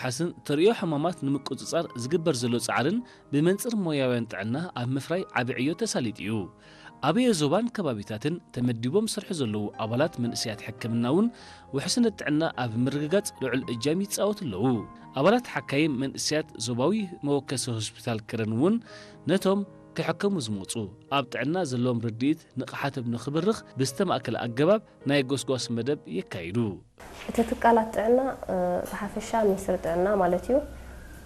ሓስን ተርእዮ ሕማማት ንምቁጽጻር ዝግበር ዘሎ ጻዕርን ብመንጽር ሞያውያን ጥዕና ኣብ ምፍራይ ዓቢ ዕዮ ተሳሊጡ እዩ። ኣበየ ዞባን ከባቢታትን ተመዲቦም ዝሰርሑ ዘለዉ ኣባላት መንእሰያት ሕክምና እውን ውሕስነት ጥዕና ኣብ ምርግጋጽ ልዑል እጃም ይጻወቱ ኣለዉ። ኣባላት ሓካይም መንእሰያት ዞባዊ መወከሲ ሆስፒታል ከረን እውን ነቶም ክሕከሙ ዝመጹ ኣብ ጥዕና ዘለዎም ርድኢት ንቕሓቶም ንኽብርኽ ብዝተማእከለ ኣገባብ ናይ ጎስጓስ መደብ የካይዱ። እቲ ትካላት ጥዕና፣ እ፣ ብሓፈሻ ሚኒስትሪ ጥዕና ማለት እዩ፣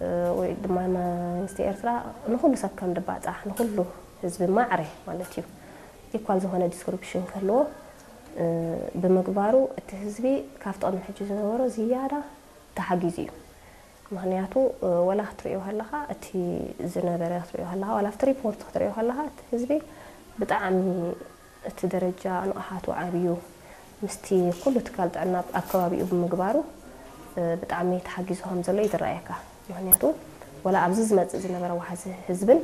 እ፣ ወይ ድማ መንግስቲ ኤርትራ ንኹሉ ሰብ ከም ድባጻሕ፣ ንኹሉ ህዝቢ ማዕረ ማለት እዩ፣ ኢኳል ዝኾነ ዲስክሪፕሽን ክህልዎ፣ እ፣ ብምግባሩ እቲ ህዝቢ ካብ ጥቕሚ ሕጂ ዝነበሮ ዝያዳ ተሓጊዙ እዩ። ምኽንያቱ፣ እ፣ ወላ ክትርእዮ ከለኻ፣ እቲ ዝነበረ ክትርእዮ ከለኻ፣ ዋላ ኣብቲ ሪፖርት ክትርእዮ ከለኻ፣ እቲ ህዝቢ ብጣዕሚ እቲ ደረጃ ንቕሓቱ ዓብዩ ምስቲ ኩሉ ትካል ጥዕና ኣብ ከባቢኡ ብምግባሩ፣ እ፣ ብጣዕሚ ተሓጊዙ ከም ዘሎ እዩ ዝረኣየካ። ምኽንያቱ፣ ወላ ኣብዚ ዝመጽእ ዝነበረ ዋሕዚ ህዝብን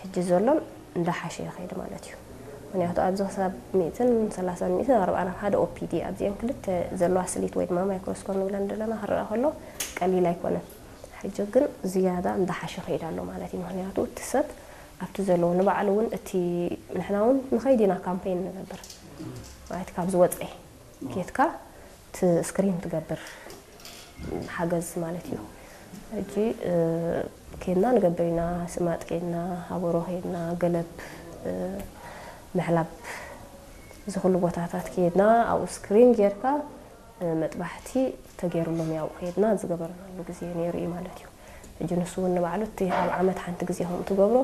ሕጂ ዘሎን እንዳሓሸ ይኸይድ ማለት እዩ። ምኽንያቱ፣ ኣብዚ ክሳብ ሚእትን ሰላሳን ሚእትን ኣርባዓን ኣብ ሓደ ኦፒዲ ኣብዚአን ክልተ ዘለዋ ስሊት ወይ ድማ ማይክሮስኮፕ ንብለን ዘለና ክረኣ ከሎ ቀሊል ኣይኮነን። ሕጂ ግን ዝያዳ እንዳሓሸ ይኸይድ ኣሎ ማለት እዩ። ምኽንያቱ፣ እቲ ሰብ ኣብቲ ዘለዎ ንባዕሉ እውን እቲ ንሕና እውን ንኸይድ ኢና ካምፔን ንገብር ማለት ካብ ዝወፀ ኬድካ እቲ ስክሪን ትገብር ሓገዝ ማለት እዩ። ሕጂ፣ እ፣ ኬድና ንገብር ኢና፣ ስማጥ ኬድና፣ ሃበሮ ኬድና፣ ገለብ፣ እ፣ ምሕላብ፣ እዚ ኩሉ ቦታታት ኬድና ኣብኡ ስክሪን ጌርካ፣ እ፣ መጥባሕቲ ተገይሩሎም ያው ኬድና ዝገበርናሉ ግዜ ነይሩ እዩ ማለት እዩ። ሕጂ ንሱ እውን ንባዕሉ እቲ ኣብ ዓመት ሓንቲ ግዜ ከምኡ ትገብሮ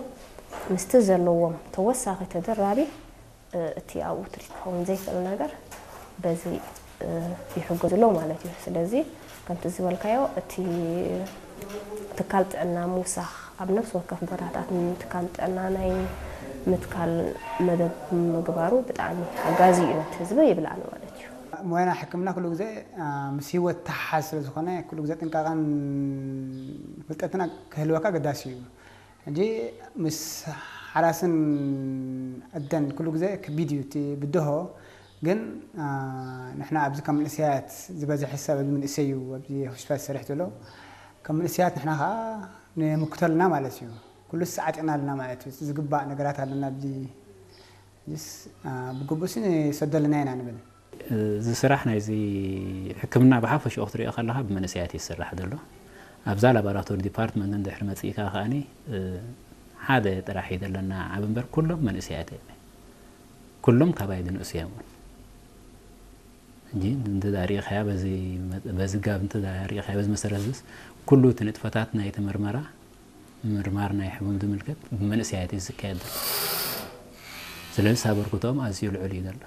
ምስቲ ዘለዎም ተወሳኺ ተደራቢ እ፣ እቲ ኣብኡ ትሪት ክኸውን ዘይክእል ነገር በዚ፣ እ፣ ይሕገዙ ኣለዉ ማለት እዩ። ስለዚ ከምቲ ዝበልካዮ እቲ ትካል ጥዕና ምውሳኽ ኣብ ነፍሲ ወከፍ ቦታታት ንትካል ጥዕና ናይ ምትካል መደብ ምግባሩ ብጣዕሚ ሓጋዚ እዩ ነቲ ህዝቢ ይብል ኣነ ማለት እዩ። ሞያና ሕክምና ኩሉ ግዜ፣ አ፣ ምስ ህይወት ተሓሓዝ ስለ ዝኾነ ኩሉ ግዜ ጥንቃቐን ፍልጠትን ክህልወካ ኣገዳሲ እዩ። ሕጂ ምስ ሓራስን ኣደን ኩሉ ግዜ ከቢድ እዩ እቲ ብድሆ። ግን፣ አ፣ ንሕና ኣብዚ ከም መንእሰያት ዝበዝሐ ሰብ ኣብዚ መንእሰይ እዩ ኣብዚ ሆስፒታል ዝሰርሕ ዘሎ። ከም መንእሰያት ንሕና ኸዓ ንምክቶ ኣለና ማለት እዩ። ኩሉ ሰዓጢቕና ኣለና ማለት እዩ። ዝግባእ ነገራት ኣለና ኣብዚ። ሕጂስ፣ አ፣ ብግቡእሲ ንሰዶ ኣለና ኢና ንብል። እዚ ስራሕ ናይዚ ሕክምና ብሓፈሽኡ ክትሪኦ ከለኻ ብመንእሰያት እዩ ዝስራሕ ዘሎ። ኣብዛ ላቦራቶሪ ዲፓርትመንት እንድሕሪ መጺእካ ከኣኒ፣ እ፣ ሓደ ጥራሕ እዩ ዘለና ዓቢ እምበር ኩሎም መንእሰያት እዮም። ኩሎም ካባይ ዝንእሱ እዮም እውን። እንጂ እንተ ሪኢኻያ በዚ መ-፣ በዚ ጋብ እንተ ሪኢኻያ በዚ መሰረት ዝስ ኩሉ እቲ ንጥፈታት ናይቲ ምርመራ፣ ምርማር ናይ ሕሙም ዝምልከት ብመንእሰያት እዩ ዝካየድ ዘሎ። ስለዚ ኣበርክቶኦም ኣዝዩ ልዑል እዩ ዘሎ።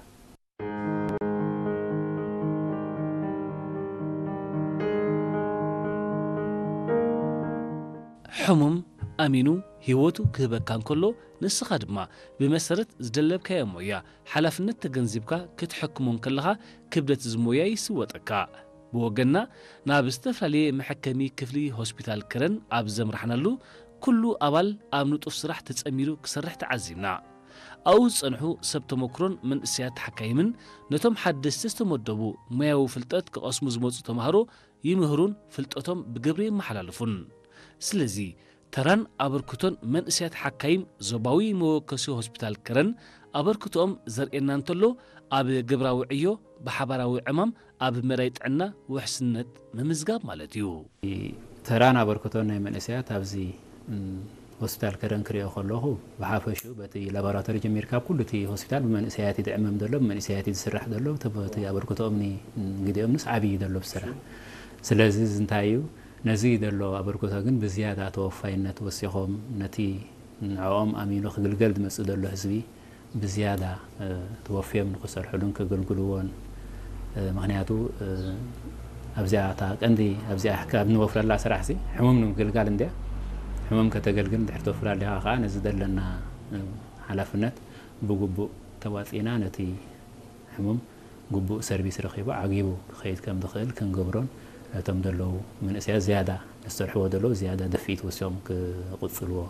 ሕሙም ኣሚኑ ህይወቱ ክህበካ እንከሎ፣ ንስኻ ድማ ብመሰረት ዝደለብካዮ ሞያ ሓላፍነት ተገንዚብካ ክትሕክሞ እንከለኻ፣ ክብደት እዚ ሞያ ይስወጠካ። ብወገንና፣ ናብ ዝተፈላለየ መሐከሚ ክፍሊ ሆስፒታል ከረን ኣብ ዘምራሕናሉ፣ ኩሉ ኣባል ኣብ ንጡፍ ስራሕ ተጸሚዱ ክሰርሕ ተዓዚብና። ኣብኡ ዝጸንሑ ሰብ ተመክሮን መንእሰያት ሓካይምን ነቶም ሓደስቲ ዝተመደቡ ሞያዊ ፍልጠት ክቐስሙ ዝመጹ ተማሃሮ ይምህሩን ፍልጠቶም ብግብሪ የመሓላልፉን። ስለዚ፣ ተራን ኣበርክቶን መንእሰያት ሓካይም ዞባዊ መወከሲ ሆስፒታል ከረን ኣበርክቶኦም ዘርእየና እንተሎ፣ ኣብ ግብራዊ ዕዮ ብሓባራዊ ዕማም ኣብ መዳይ ጥዕና ውሕስነት ምምዝጋብ ማለት እዩ። ተራን ኣበርክቶን ናይ መንእሰያት ኣብዚ፣ እም፣ ሆስፒታል ከረን ክሪኦ ከለኹ፣ ብሓፈሽኡ በቲ ላቦራቶሪ ጀሚርካ ኣብ ኩሉ እቲ ሆስፒታል ብመንእሰያት እዩ ዝዕመም ዘሎ፣ ብመንእሰያት እዩ ዝስራሕ ዘሎ። እቲ፣ እቲ ኣበርክቶኦም ኒ-፣ ግዜኦም ንስ ዓብዪ እዩ ዘሎ ብስራሕ። ስለዚ እዚ እንታይ እዩ? ነዚ ዘሎ ኣበርክቶ ግን ብዝያዳ ተወፋይነት ወሲኾም ነቲ ንዕኦም ኣሚኑ ክግልገል ዝመጽእ ዘሎ ህዝቢ ብዝያዳ፣ እ፣ ተወፍዮም ንኽሰርሕሉን ክግልግልዎን፣ እ፣ ምኽንያቱ፣ እ፣ ኣብዚኣ እታ ቀንዲ ኣብዚኣ ካብ እንወፍረላ ስራሕሲ ሕሙም ንምግልጋል እንድያ። ሕሙም ከተገልግል እንድሕር ተወፍር ኣሊኻ ከኣ ነዚ ዘለና፣ እ፣ ሓላፍነት ብግቡእ ተዋጺእና ነቲ ሕሙም ግቡእ ሰርቪስ ረኺቡ ዓጊቡ ክኸይድ ከም ዝኽእል ክንገብሮን ነቶም ዘለዉ መንእሰያት ዝያዳ ዝሰርሕዎ ዘለዉ ዝያዳ ድፍኢት ወሲኾም ክቕጽልዎ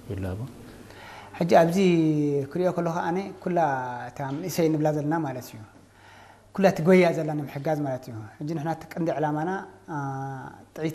ይላቦ። ሕጂ ኣብዚ ክሪኦ ከለኹ ኣነ ኩላ እታ መንእሰይ ንብላ ዘለና ማለት እዩ። ኩላ እቲ ጎያ ዘላ ንምሕጋዝ ማለት እዩ። ሕጂ ንሕና እቲ ቀንዲ ዕላማና፣ አ፣ ጥዕይቲ